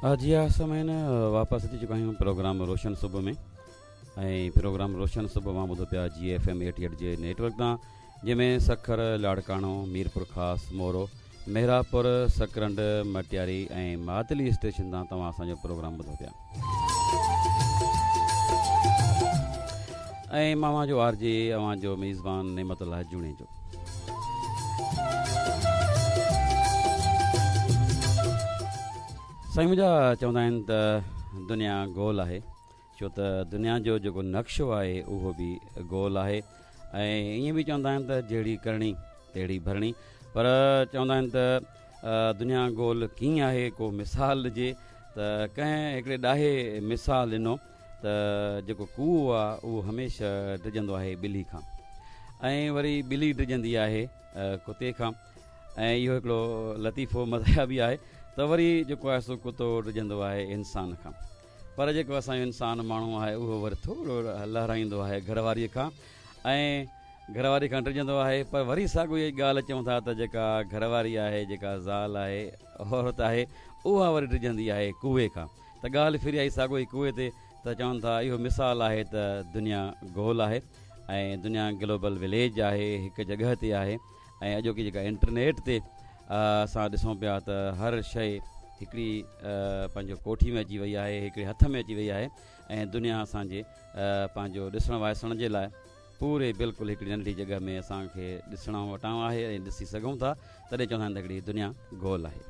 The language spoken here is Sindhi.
جي ها سامعين واپس اچي چڪا آهيون پروگرام روشن صبح ۾ ۽ پروگرام روشن صبح اوهان ٻڌو پيا جي ايف ايم ايٽي ايٽ جي نيٽ ورڪ تان جنهن ۾ سکر لاڙڪاڻو ميرپور خاص مورو محرابپور سڪرنڊ مٽياري ۽ ماتلي اسٽيشن تان توهان اسان جو پروگرام ٻڌو پيا ۽ مان اوهان جو آر جي اوهان جو ميزبان نعمت الله جوڻيجو. سائين منهنجا چوندا آهن ته دنيا گول آهي ڇو ته دنيا جو جيڪو نقشو آهي اهو به گول آهي ۽ ائين به چوندا آهن ته جهڙي ڪرڻي تهڙي ڀرڻي پر چوندا آهن ته دنيا گول ڪيئن آهي ڪو مثال ڏجي ته ڪنهن هڪڙي ڏاهي مثال ڏنو ته جيڪو ڪوئو آ اهو هميشه ڊڄندو آهي ٻلي کان ۽ وري ٻلي ڊڄندي آهي ڪتي کان ۽ اهو هڪڙو لطيفو مزاحيه به آهي ته وري جيڪو آهي سو ڪتو ڊڄندو آهي انسان کان پر جيڪو اسان جو انسان ماڻهو آهي اهو وري ٿورو لهرائيندو آهي گهر واري کان ۽ گهر واري کان ڊڄندو آهي پر وري ساڳو ئي ڳالهه چون ٿا ته جيڪا گهر واري آهي جيڪا زال آهي عورت آهي اها وري ڊڄندي آهي ڪوئي کان ته ڳالهه ڦري آئي ساڳو ئي ڪوئي تي ته چون ٿا اهو مثال آهي ته دنيا گول آهي ۽ دنيا گلوبل وليج آهي هڪ جڳهه تي آهي ۽ اڄوڪي جيڪا انٽرنيٽ تي اسان ڏسون پيا ته هر شيء هڪڙي پنهنجو ڪوٺي ۾ اچي وئي آهي هڪڙي هٿ ۾ اچي وئي آهي ۽ دنيا اسان جي پنهنجو ڏسڻ وائسڻ جي لاء پوري بلڪل هڪڙي ننڍڙي جڳهه ۾ اسان کي ڏسڻ وٽان آهي ۽ ڏسي سگهون ٿا تڏهن چوندا آهن ته هڪڙي دنيا گول آهي.